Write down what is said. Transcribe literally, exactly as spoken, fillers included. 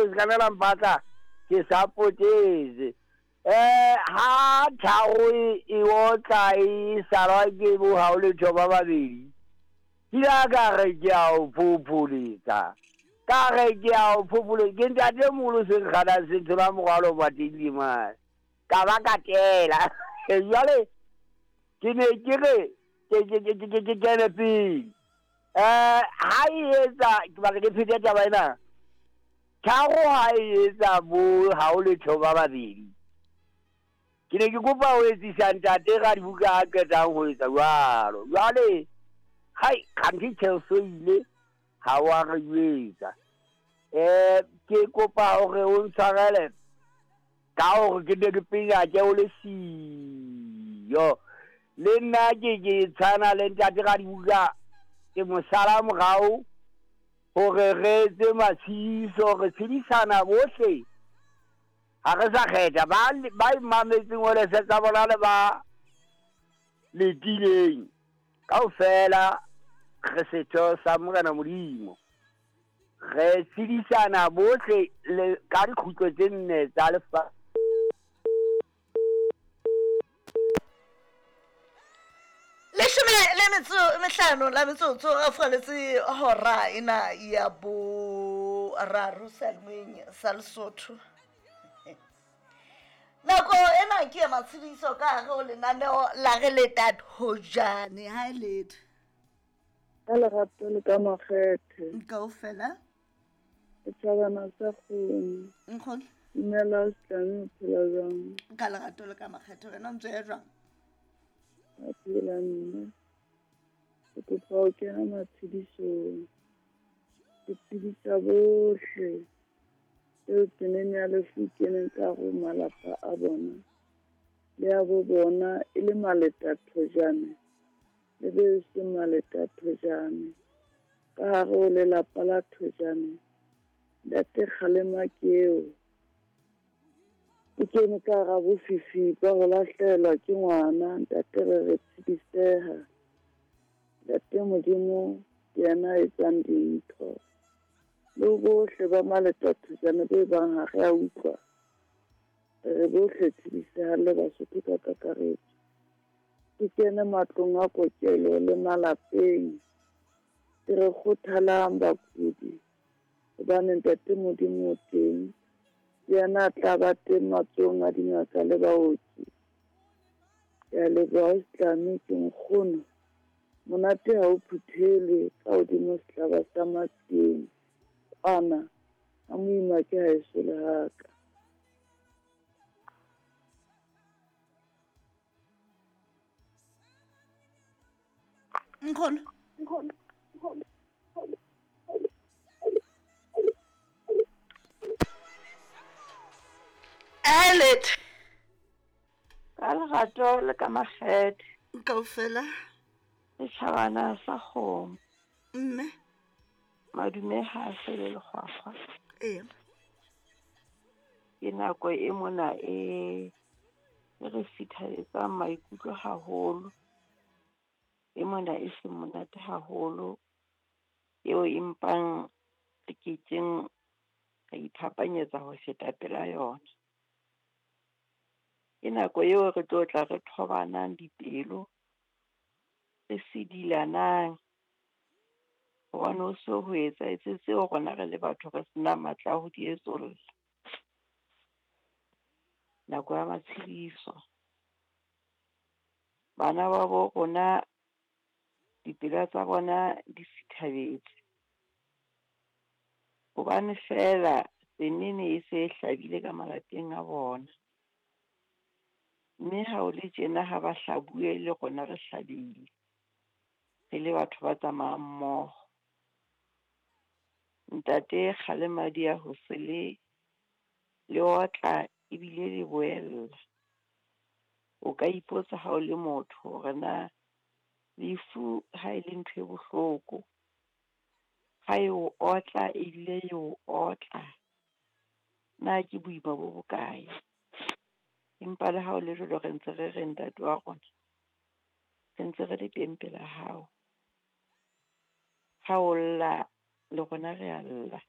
Se ka nna la mpatla ke sa potetse. Eh ha tharo e otla e salwa ke bo ha o letho ba babedi. Ke la ka re ke a o phopholetsa. Ka re ke a o phopholetsa. Ke ntate moholo se nkganang se thola morwalo mateng mane. Ka ba ka tela. Jwale ke ne ke re ke ke ke ke ke kene pele. Eh ha e etsa ke batla ke phete taba ena. Tharo ha e etsa bo ha o letho ba babedi. Ke ne ke kopa ho etsisa ntate Radibuka a qetang ho etsa jwalo. Jwale hai kganthe Chelsea ile ha wa re jwetsa. Eh ke kopa hore o ntshwarele ka hore ke ne ke penya ke o le siyo. Le nna ke ke tshwana le ntate Radibuka ke mo sala morao hore re etse matshiso re tshedisana bohle. Ha re sa kgetha ba ba mametseng hore se tsa bona le ba letileng kaofela re setho sa Morena Modimo. Re tshedisana bohle le ka dikhutlo tse nne tsa lefatshe. Leshome le metso mehlano la metsotso a falletse hora ena ya boraro seyalemoyeng sa Lesotho. Nako ena ke ya matshediso ka hare ho lenaneo la re leta thojane. Ha e letho. Ka lerato le ka makgethe. Kaofela. Setjhabana sa kgomo. Nkgono. Dumela Setlame, o phela jwang? Ka lerato le ka makgethe, wena o ntse o ya jwang? A phela mme. Ke kopa ho kena matshedisong. Ke tshedisa bohle eo tseneng ya lefu keneng ka ho malapa a bona le a bo bona e le maleta thojane le be se maleta thojane ka hare ho lelapa la thojane. Ntate Kgalema ke eo ke kene ka hara bofifi ba ho lahlehelwa ke ngwana. Ntate re re tshediseha. Ntate Modimo ke yena a etsang dintho. Le bohle ba maleta thojane be bang ha re a utlwa. Re bohle tshediseha le Basotho ka kakaretso. Ke kene matlong a kokelo le malapeng. Ke re kgothalang bakudi hobane ntate Modimo o teng. Ke yena a tla ba teng matsohong a dingaka le baoki. Ke a leboha Setlame, ke nkgono. Monate ha o phuthelwe ka hodimo sehlaba sa Matsieng. Kwana ha moima ke haeso le haka. Nkgono. Elet. Ka lerato le ka makgethe. Kaofela. Setjhabana sa kgomo. Mme. Madume ha a fele lekgwakgwa. Ee. Ke nako e mona e e re sithabetsang maikutlo haholo. E mona e seng monate haholo. Eo empang re kekeng ra iphapanyetsa ho feta pela yona. Ke nako eo re tlo tla re thobanang dipelo, re sedilanang. Hobane ho so ho etsahetse tseo rona re le batho re sena matla a ho di etsolla. Nako ya matshediso. Bana ba bo rona dipelo tsa bona di sithabetse. Hobane feela tsenene e se e hlabile ka malapeng a bona. Mme ha o le tjena ha ba hlabuwe le rona re hlabile. Re le batho ba tsamayang mmoho. Ntate Kgalema di ya ho se le le otla ebile le boella. O ka ipotsa ha o le motho hore na lefu ha e le ntho e bohloko, ha e o otla ebile e o otla, na ke boima bo bokae? Empa le ha o le jwalo re ntse re re ntate wa rona, re ntse re le teng pela hao. Ha o lla le rona re a lla.